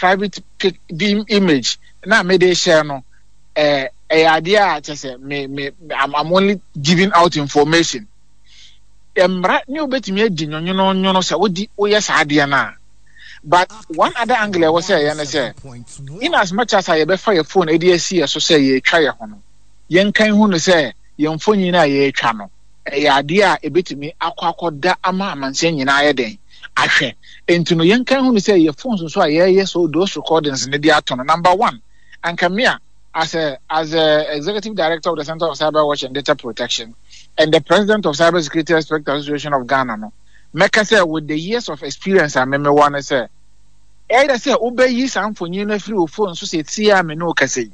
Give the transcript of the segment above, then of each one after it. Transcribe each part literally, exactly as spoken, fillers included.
Private pic bi image na mede hyɛ no, ɛɛ ɛyɛ adeɛ a kyɛ sɛ me me I'm, I'm only giving out information. Mmara ne wobɛtumi adi nwonwononwono sɛ wodi woyɛ saa adeɛ no a. But one other angle a ɛwɔ sɛ ɛyɛ ne sɛ, in as much as a yɛbɛfa yɛ phone de asi yɛ so sɛ yɛretwa yɛ ho no, yɛnkan hu no sɛ yɛn mfonyin a yɛretwa no, ɛyɛ adeɛ a ɛbɛtumi akɔ akɔda ama amansan nyinaa ayɛ den ahwɛ. Nti no, yɛnkan hu no sɛ yɛ phones nso a yɛreyɛ so those recordings ne de ato no, number one, anka me a as a as a executive director of the Center of Cyber Watch and Data Protection and the president of Cyber Security Expert Association of Ghana no, mɛka sɛ with the years of experience a memewɔ no, sɛ ɛyɛ sɛ wobɛyi saa mfonyin no afiri wo phone so sɛ tie a me ne wo kasa yi,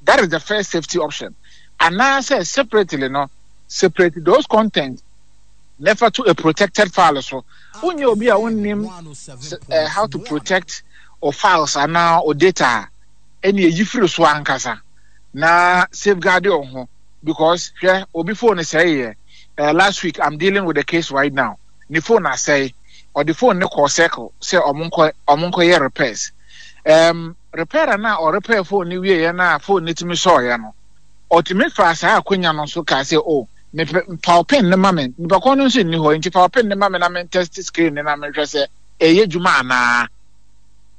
that is the first safety option, anaasɛ separately no, separate those content never to a protected file. So wonyɛ obi a wonnim uh, how to protect or files anaa or data a, ɛne ɛyi firi so ankasa na safeguard wo ho, because hwɛ, obi phone sɛe yɛ uh, last week. I'm dealing with the case right now. Ne phone asɛe, ɔde phone ne kɔɔ Circle sɛ ɔmo nkɔ ɔmo nkɔ yɛ repairs. um, repairer na ɔrepair phone ne wie yɛ na phone ne tumi sɔɔyɛ no, ɔtumi fa saa akonnwa no so kaa sɛ, "O, mepɛ fa pin ne ma me." Nipa kɔn no nso nni hɔ, nti fa pin ne ma me na me test screen ne na mehwɛ sɛ ɛyɛ dwuma anaa.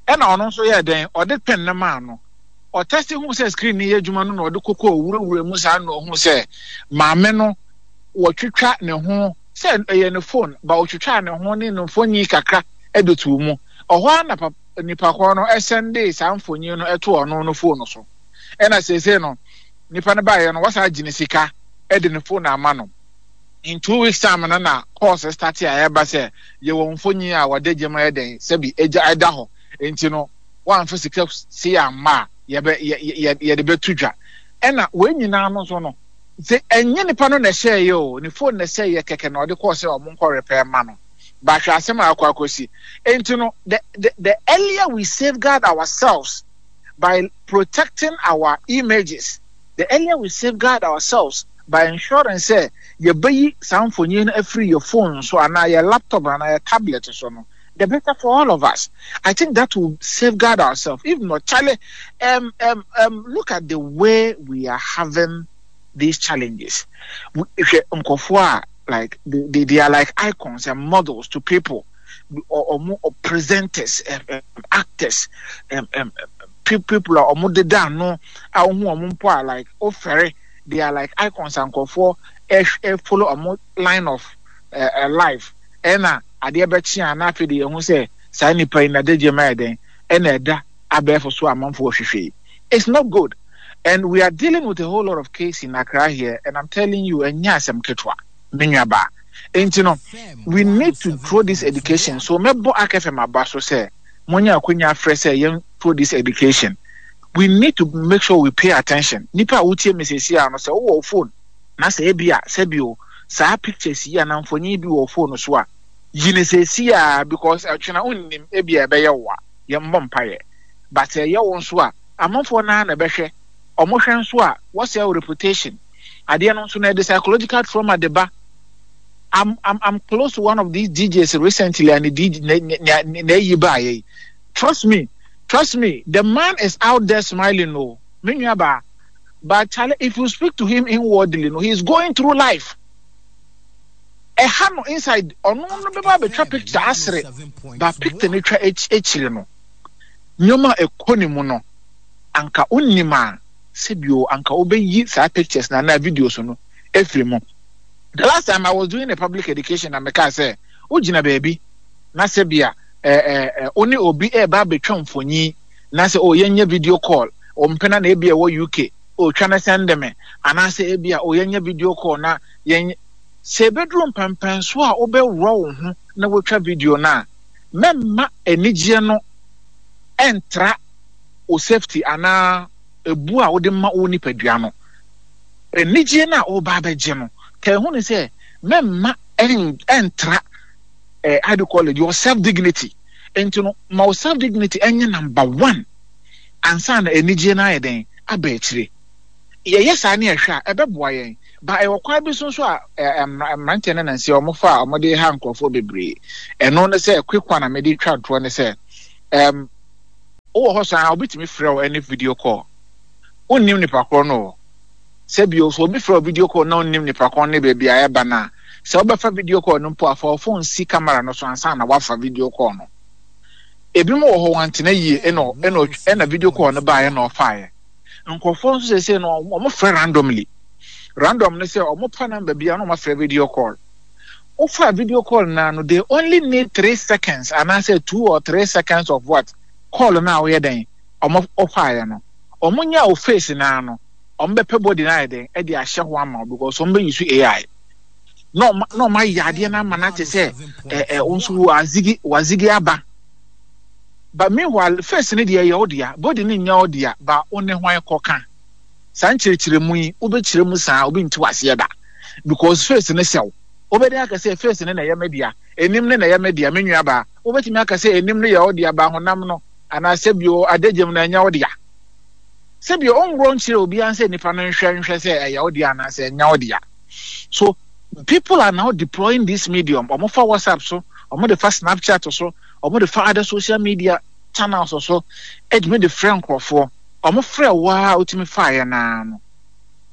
Ɛna ɔno nso yɛ dɛn? Ɔde pin ne maa no, ɔtest hu sɛ screen ne yɛ adwuma no, na ɔde koko owurawura mu saa na ɔhu sɛ maame no wɔtwitwa ne ho sɛ ɛyɛ ne phone ba, ɔtwitwa ne ho ne ne mfonyin kakra ɛde to mu. Ɔhɔ ara na papa nipa kɔn no ɛsend saa mfonyin no ɛto ɔno no phone so. Ɛna seesei no, nipa no baayɛ no, wasa agye ne sika ɛde ne phone ama no. In two weeks time no, na calls start a ɛba sɛ yɛwɔ mfonyin a wɔde gye ma yɛ dɛn, sɛbi, egya ɛda hɔ, nti no wɔamfa sika si amma a, yɛbɛ yɛ yɛ yɛde bɛto dwa. Ɛna wɔn nyinaa no nso no sɛ ɛnyɛ nipa no na ɛhyɛ yɛ o, ne phone na ɛhyɛ yɛ kɛkɛ na ɔde kɔɔ sɛ ɔmo nkɔ repair ma no. Bahwɛ asɛm a akɔ akɔsi. Nti no, the the the earlier we safeguard ourselves by protecting our images, the earlier we safeguard ourselves by ensuring sɛ yɛbɛyi saa mfonyin no afiri yɛ phone so anaa yɛ laptop anaa yɛ tablet so no, the better for all of us. I think that will safeguard ourselves. If not, Charlie, um, um, um, look at the way we are having these challenges. If you like they, they, they are like icons and models to people, or, or more or presenters, um, um, actors, um, um, people are ɔmo deda ano a ohun ɔmo mpo a, like ofɛre, they are like icons and nkurɔfoɔ ɛ follow ɔmo line of uh, uh, life. Ɛna adeɛ bɛkye a, na afei de yɛn ho sɛ saa nipa yi n'adagye ma yɛ den, ɛna ɛda abɛɛfo so amanfoɔ hwehwɛ yi. It's not good, and we are dealing with a whole lot of case in Accra here, and I'm telling you, ɛnyɛ asɛm ketewa, me nua baa. Nti no, we need to throw this education. So mɛbɔ A K F M aba so sɛ monyɛ akonya afrɛ sɛ yɛn throw this education. We need to make sure we pay attention. Nipa a wotie me sɛsi a no, sɛ wowɔ phone na sɛ ebi a sɛbi o, saa pictures yi anaa mfonyin bi wɔ phone so a, yi ne sɛsi a, because ɛtwena wonnim ebi a ɛbɛyɛ wo a, yɛmmɔ mpayɛ, but ɛyɛ wo nso a, amanfoɔ naa na ɛbɛhwɛ. Ɔmo hwɛ nso a, wɔsɛ wo reputation. Adeɛ no nso na ɛde psychological trauma de ba. I'm, I'm, I'm close to one of these D Js recently, and the D J na na eyi ba yi. Trust me, trust me, the man is out there smiling no. Me nua ba, but Charlie, if you speak to him inwardly no, he is going through life. Ɛha no inside, ɔno no bɛba abɛtwa picture asere, but picture no twa akyire no, nneɛma a ɛkɔ ne mu no, anka onim a, sɛbio, anka wobɛyi saa pictures na anaa videos no efiri mu. The last time I was doing a public education na meka sɛ wogyina baabi na sɛbia ɛɛ ɛɛ wo ne obi ɛɛba abɛtwa mfonyin na sɛ o, yɛnyɛ video call, ɔmpena na ebi a ɛwɔ U K, otwa ne send me, anaasɛ ebi a o, yɛnyɛ video call na yɛn sɛ ebeduru mpɛmpɛnso a wobɛworɔ wo ho na wotwa video no a, mɛmma anigyeɛ no ɛntra o safety anaa ebu a wode ma wo nipadua no. Anigyeɛ no a wɔba abɛgye no ka ehu ne sɛ mɛmma ɛntra ɛɛ how do you call it, your self dignity. Nti no, ma wo self dignity ɛnyɛ number one ansa na anigyeɛ no ayɛ den aba akyire. Yɛyɛ saa ne ɛhwɛ a, ɛbɛboa yɛn ba. Ɛwɔ kwan bi so nso a ɛɛ mmeranteɛ no nansi a wɔfa a wɔde ha nkurɔfoɔ bebree. Ɛno ne sɛ quick one a mede twa ntoɔ ne sɛ ɛɛm Wowɔ hɔ saa, obi tumi frɛ wo ɛne video call. Wonnim nipa korɔ no o. Sɛ bio, sɛ obi frɛ wo video call na wonnim nipa korɔ ne baabi a ɛba no a, sɛ wobɛfa video call no mpo a, fa wo phone si camera no so ansa na woafa video call no. Ebinom wɔ hɔ wɔantena yie ɛna ɛna ɛna video call no baeɛ na ɔfaeɛ. Nkurɔfoɔ nso seesei no wɔn frɛ randomly. Random ne sɛ wɔn pa number bi a na wɔn afrɛ video call. Wofa video call naa no, they only need three seconds anaasɛ two or three seconds of what call no a woyɛ dɛn wɔn ɔfaeɛ no. Wɔn nya wo face naa no, wɔn bɛpɛ body no ayɛ dɛn ɛde ahyɛ ho ama wo because wɔn bɛ use A I. Na wɔn na wɔn ayɛ adeɛ no ama no ate sɛ ɛ ɛ wɔn nso wazigi wazigi aba. But meanwhile, face no deɛ ɛyɛ wo dea, body no nyɛ wo dea, ba wo ne hwan kɔka. Saa nkyerɛkyerɛmu yi, wobɛkyerɛ mu saa, obi nte waseɛ da. Because face no hyɛ wo. Wobɛden aka sɛ face no na ɛyɛ me dea, anim no na ɛyɛ me dea, me nua baa. Wobɛtumi aka sɛ anim no yɛ wo dea, ba honam no, anaasɛ bio adagyam no ɛnyɛ wo dea. Sɛbio ɔnworɔ nkyerɛ obiara sɛ nipa no nhwɛ nhwɛ sɛ ɛyɛ wo dea anaasɛ ɛnyɛ wo dea. So people are now deploying this medium. Ɔmo fa WhatsApp so, ɔmo de fa Snapchat so, ɔmo de fa other social media channels so, ɛtumi de frɛ nkurɔfoɔ. Ɔmo frɛ wo a wotumi faeɛ naa no,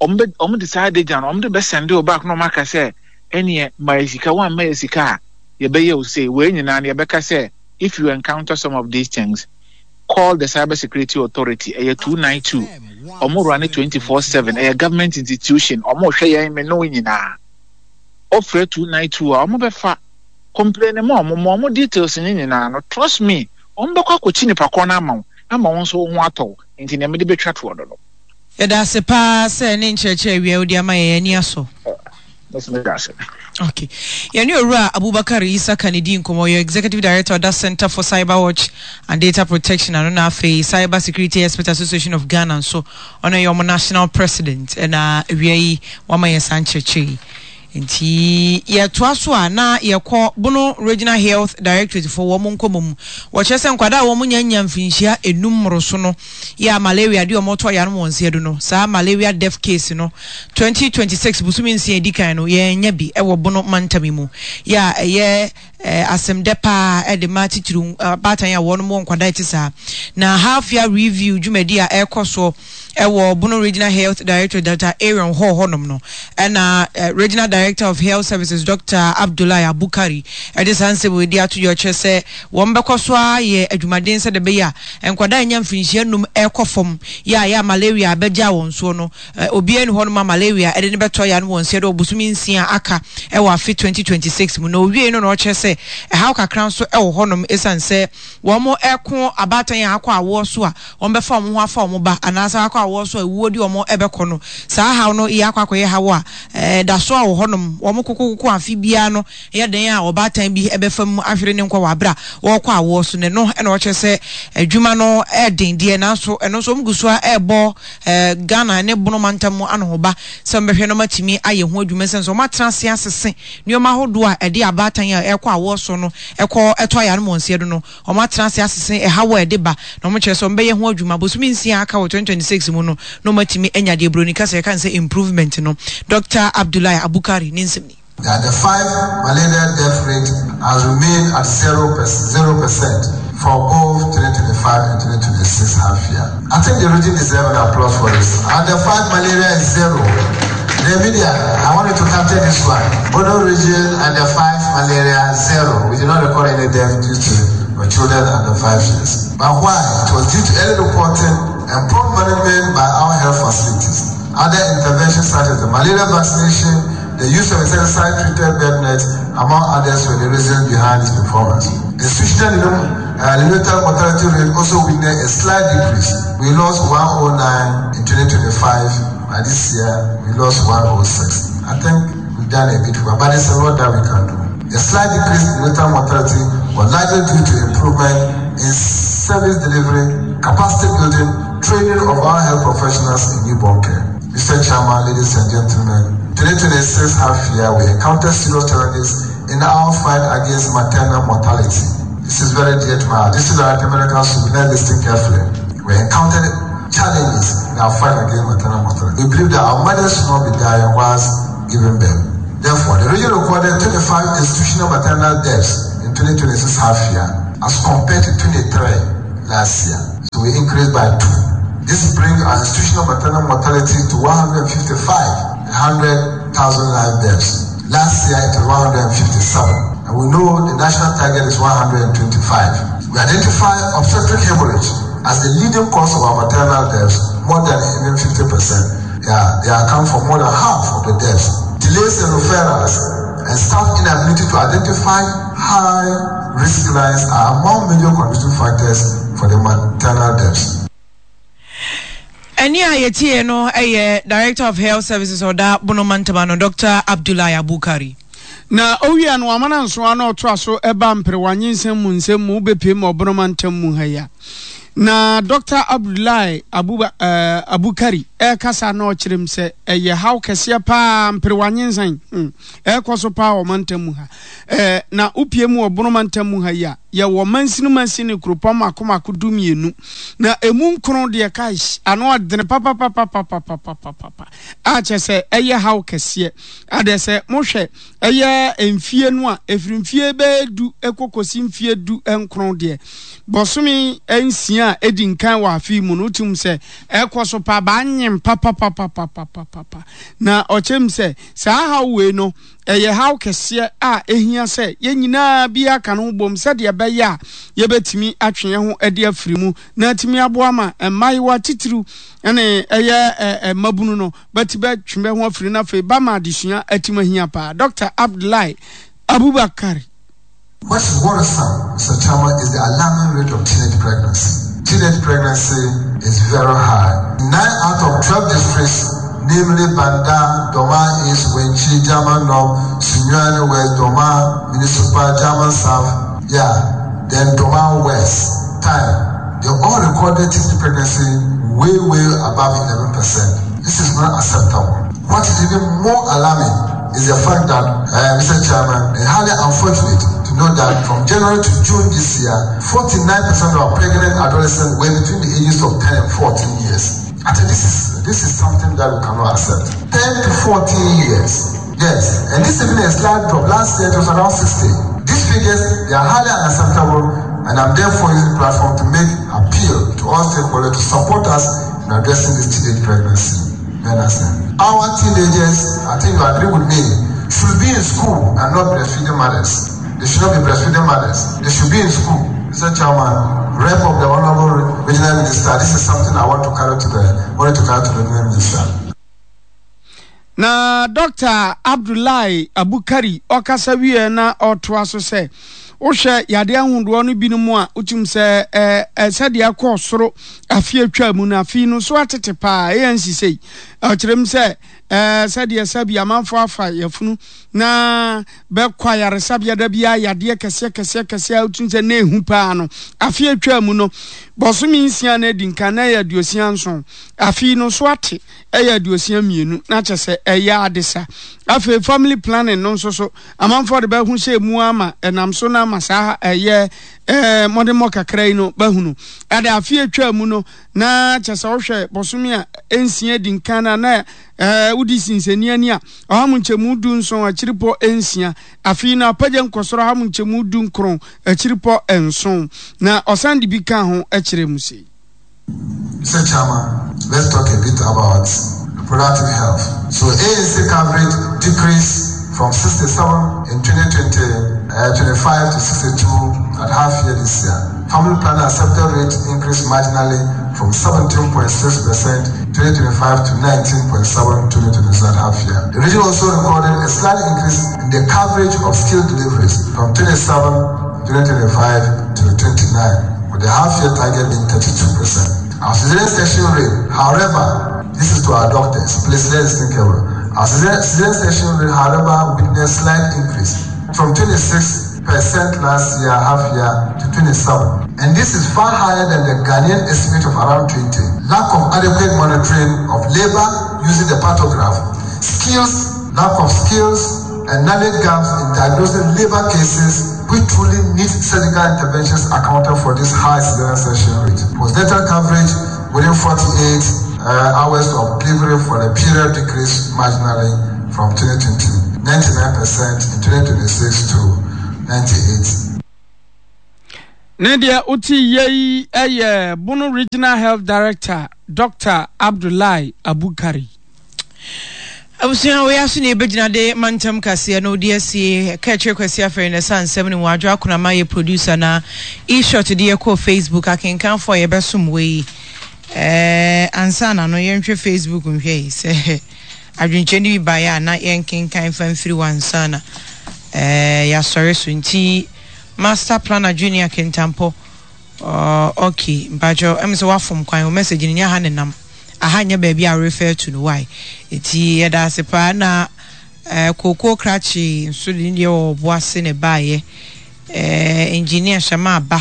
ɔmo bɛ ɔmo de saa adagya no, ɔmo de bɛ send wo back na ɔmo aka sɛ ɛneɛ ma yɛ sika, wɔamma yɛ sika a yɛbɛyɛ wo sei. Wei nyinaa no yɛbɛka sɛ if you encounter some of these things, call the Cyber Security Authority. Ɛyɛ two nine two. Ɔmo run twenty-four seven. Ɛyɛ government institution. Ɔmo hwɛ yɛn me no nyinaa. Ɔfrɛ two nine two a, ɔmo bɛfa complain ma ɔmo ma ɔmo details ne nyinaa no. Trust me, ɔmo bɛkɔ akɔkyi nipa korɔ no ama wo ama wo nso wo ho atɔ wo. Nti nea mede bɛtwa toɔ no no Yɛda ase paa sɛ ne nkyerɛkyerɛ awia wode ama yɛn ani asɔ. Mɛsɛ meda ase. Okay, yɛne Owura Abubakar Isa Kanedi nkɔmmɔ. Ɔyɛ executive director ɔda Center for Cyber Watch and Data Protection ano, na afei Cyber Security Expert Association of Ghana nso ɔno yɛ ɔmo national president. Ɛna awia yi wama yɛn saa nkyerɛkyerɛ yi. Nti yɛtoa so a, na yɛkɔ Bono Regional Health Directorate fo wɔn nkɔmmɔ mu. Wɔkyerɛ sɛ nkwadaa a wɔn nya nya mfinhyia enum mmoroso no yɛ a malaria de wɔn tɔ yanom wɔn nsa do no, saa malaria death case no, twenty twenty-six bosome nsia edi kan no, yɛnya bi ɛwɔ Bono mantam yi mu. Yɛ a ɛyɛ ɛɛ asɛmdɛ paa ɛde ma titiri abaatan a wɔn wɔ nkwadaa ti saa. Na half year review dwumadi a ɛrekɔ soɔ ɛwɔ Bono Regional Health Director Doctor Aaron Hall hɔnom no, ɛna uh, Regional Director of Health Services Doctor Abdullahi Abukari ɛde saa nsɛm wɔ edi ato dwa. Ɔkyerɛ sɛ wɔn bɛkɔ so ayɛ adwumaden sɛ de bɛyɛ a nkwadaa nya mfirinhyia num ɛrekɔ fam yɛ a yɛ a malaria abɛgya wɔn soɔ no, obiara ni hɔnom a malaria ɛde ne bɛtɔ ya no wɔn nsia de ɔbosome nsia aka ɛwɔ afe twenty twenty-six mu. Na owie no na ɔkyerɛ sɛ ɛhaw kakra nso ɛwɔ hɔnom, ɛsiane sɛ wɔn ɛko abaatan a akɔ awoɔ so a wɔn bɛfa wɔn ho afa wɔn ba anaasɛ akɔ awoɔ so a ewuo di wɔn ɛbɛkɔ no, saa haw no yɛ akɔ akɔyɛ haw a ɛɛ da so a wɔ hɔnom. Wɔn kokokoko afe biara no yɛ den a ɔbaatan bi ɛbɛfa mu ahwere ne nkwa wɔ abere a wɔrekɔ awoɔ so. Ne no ɛna ɔkyerɛ sɛ adwuma no ɛɛden deɛ, nanso ɛno nso wɔn gu so a ɛɛbɔ ɛɛ Ghana ne Bono mantam mu anohoba sɛ wɔn bɛhwɛ no matumi ayɛ ho adwuma sɛ nso wɔn atena ase asese nneɛma ahodoɔ a ɛde abaatan a ɛrekɔ awoɔ so no ɛkɔ ɛtɔ ayare mu wɔn nsia do no. Wɔn atena ase asese ɛhaw a ɛde ba na wɔn kyerɛ sɛ wɔn bɛyɛ ho adwuma bosome nsia aka wɔ twenty twenty-six mu no na wɔn atumi anya deɛ buroni kasa yɛka sɛ improvement no. Doctor Abdullahi Abukari ne nsɛm ni. That the five malaria death rate has remained at zero percent for both twenty twenty-five and twenty twenty-six half year. I think the region deserves an applause for this. And the five malaria is zero. The media, I want you to capture this one. Bono region and the five malaria zero. We did not record any death due to children under five years. But why? It was due to early reporting and prompt management by our health facilities. Other interventions such as the malaria vaccination, the use of insecticide-treated bed nets, among others, were the reasons behind this performance. The institutional uh, neonatal mortality rate also witnessed a slight decrease. We lost one hundred nine in twenty twenty-five, and this year we lost one hundred six. I think we've done a bit well, but there's a lot that we can do. The slight decrease in neonatal mortality was largely due to improvement in service delivery, capacity building, training of our health professionals in newborn care. Mister Chairman, ladies and gentlemen, twenty twenty-six half year, we encountered serious challenges in our fight against maternal mortality. This is very dear to my heart. This is our American should be listening carefully. We encountered challenges in our fight against maternal mortality. We believe that our mothers should not be dying whilst giving birth. Therefore, the region recorded twenty-five institutional maternal deaths in twenty twenty-six half year as compared to twenty-three last year. So we increased by two. This brings our institutional maternal mortality to one hundred fifty-five hundred thousand live births. Last year it was one hundred fifty-seven, and we know the national target is one hundred twenty-five. We identify obstetric hemorrhage as the leading cause of our maternal deaths, more than even fifty percent. Yeah, they account for more than half of the deaths. Delays in referrals and staff inability to identify high risk lines are among major contributing factors for the maternal deaths. Ɛne a yɛtie no ɛyɛ Director of Health Services ɔda Bono Mantam no, Doctor Abdullahi Abukari. Na owia no amana nso ano ɔtoa so ɛba mperewa nyinsɛn mu nsɛm mu bepie mu ɔbono mantam mu ha ya. Na Doctor Abdullahi Abuba, uh, Abukari ɛkasa na ɔkyerɛ m sɛ ɛyɛ haw kɛseɛ paa mperewa nyinsɛn hmm, ɛkɔ so paa wɔ mantam mu ha. Eh, na wopie mu wɔ Bono mantam mu ha yi a, yɛwɔ mansini mansini kuropɔn mako mako du mmienu. Na emu nkron deɛ kae ano ɔdene papapapapapapapapa a kyerɛ sɛ ɛyɛ haw kɛseɛ. Adeɛ sɛ mohwɛ ɛyɛ mfie no a ɛfiri mfie bɛyɛ du ɛkɔkɔsi mfie du nkron deɛ, bɔsome nsia a ɛdi nkan wɔ afe mu no, wotum sɛ ɛkɔ so pa baanyem papapapapapapa. Na ɔkyerɛ m sɛ saa haw wei no ɛyɛ haw kɛseɛ a ɛhia sɛ yɛn nyinaa bi aka no ho bom sɛdeɛ ɛbɛyɛ a yɛbɛtumi atwe yɛn ho adi afiri mu na atumi aboa ma mmaayewa titiriw ne ɛyɛ mmabunu no bɛti bɛtwe bɛ ho afiri no afei ba ma adesua atumi ahia paa. Doctor Abdullahi Abubakar. What is worrisome, Mister Chairman, is the alarming rate of teenage pregnancy. Teenage pregnancy is very high. Nine out of twelve districts, namely Banda, Dormaa East, Wenchi, Jaman North, Sunyani West, Dormaa Municipal, Jaman South, yeah, then Dormaa West, time, they all recorded teenage pregnancy way, way above eleven percent. This is not acceptable. What is even more alarming is the fact that, uh, Mister Chairman, it's highly unfortunate to know that from January to June this year, forty-nine percent of our pregnant adolescents were between the ages of ten and fourteen years. I think this is, this is something that we cannot accept. ten to fourteen years. Yes, and this is even a slight drop. Last year it was around sixty. These figures, they are highly unacceptable, and I'm therefore using the platform to make appeal to all stakeholders to support us in addressing this teenage pregnancy. Our teenagers, I think you agree with me, should be in school and not breastfeeding mothers. They should not be breastfeeding mothers. They should be in school. Mister Chairman, rep of the Honorable Regional Minister, this is something I want to carry to the, want to carry to the Regional Minister. Na Doctor Abdullahi Abukari okasa wie na otoa so sɛ wohwɛ yade ahodoɔ no binom a wotum sɛ eh, eh, sɛdeɛ ɛkɔɔ soro afe atwa mu no afe no so atete paa ɛyɛ nsisei. Ɔkyerɛ m sɛ, eh, sɛdeɛ sɛbi amanfoɔ afa yɛfunu na bɛkɔ ayaresabea da biara yadeɛ kɛseɛ kɛseɛ kɛseɛ a wotum sɛ na ehu paa no afe atwa mu no bɔsome nsia na adi nkan na ɛyɛ aduosia nson afe no so ate ɛyɛ aduosia mmienu na kyerɛ sɛ ɛyɛ adesa. Afei family planning no nso so amanfoɔ de bɛho hyɛ mu ama ɛnam so na ama saa ɛyɛ, ɛɛ, mmɔdemmɔ kakra yi no bɛhunu. Ɛde afe atwa mu no na kyerɛ sɛ wohwɛ bɔsome a nsia di nkan na na, ɛɛ, wodi sinsani ani a ɔha mu nkyɛmu du nson akyiripɔ nsia. Afei na apagya nkɔsoro ɔha mu nkyɛmu du nkron akyiripɔ nson. Na ɔsan de bi ka ho kyerɛ mu sei. Mister Chairman, let's talk a bit about reproductive health. So A N C coverage decreased from sixty-seven in twenty twenty, uh, twenty-five to sixty-two at half year this year. Family planning accepted rate increased marginally from seventeen point six percent twenty twenty-five to nineteen point seven twenty twenty-seven half year. The region also recorded a slight increase in the coverage of skilled deliveries from twenty-seven twenty twenty-five to twenty-nine, with the half-year target being thirty-two percent. Our cesarean section rate, however, this is to our doctors, please let's think about it. Our cesarean section rate, however, witnessed slight increase from twenty-six percent last year, half year, to twenty-seven. And this is far higher than the Ghanaian estimate of around twenty. Lack of adequate monitoring of labor using the partograph, skills, lack of skills, and knowledge gaps in diagnosing labor cases which truly need surgical interventions accounted for this high cesarean section rate. Postnatal coverage within forty-eight, uh, hours of delivery for the period decreased marginally from twenty twenty, ninety-nine percent in twenty twenty-six to ninety-eight. Ne deɛ wote yei yɛ Bono Regional Health Director Doctor Abdullahi Abukari. Abusua wei aso na yɛbɛgyina de mantam kaseɛ no de asie. Ɛka akyire Kwasi Afɛre na ɛsa nsɛm no mu. Adwo Akonama yɛ producer na E-shot de yɛkɔɔ Facebook akenkanfoɔ a yɛbɛsom wei. Ɛɛ ansa na no yɛnhwɛ Facebook nhwɛ yi sɛ adwenkyerɛ no bi baeɛ a na yɛnkenkan fa mfiri hɔ ansa na ɛɛ yɛasɔre so nti Master Planner Junior Kintampo uh, okay mpakyɛw ɛm sɛ wafom kwan o message no nyɛ ha ne nam aha nyɛ baabi a refer to no why eti yɛda ase paa na eh, kookoo krakye nso de ne deɛ wɔ ɔbo ase na ɛbaeɛ eh, engineer Hyɛma aba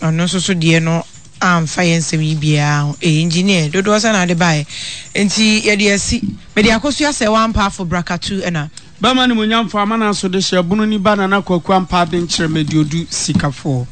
ɔno nso so deɛ no amfa yɛn nsɛm yi biara ho eh, engineer dodoɔ sɛ na ade baeɛ nti yɛde asi mede akosua sɛ wampa afo brakatu ɛna Bɛma animuonyamfoɔ amana so de hyɛ bunu ni ba Nana Kwaku Ampaa Benkyerɛ Mediodu Sikafoɔ.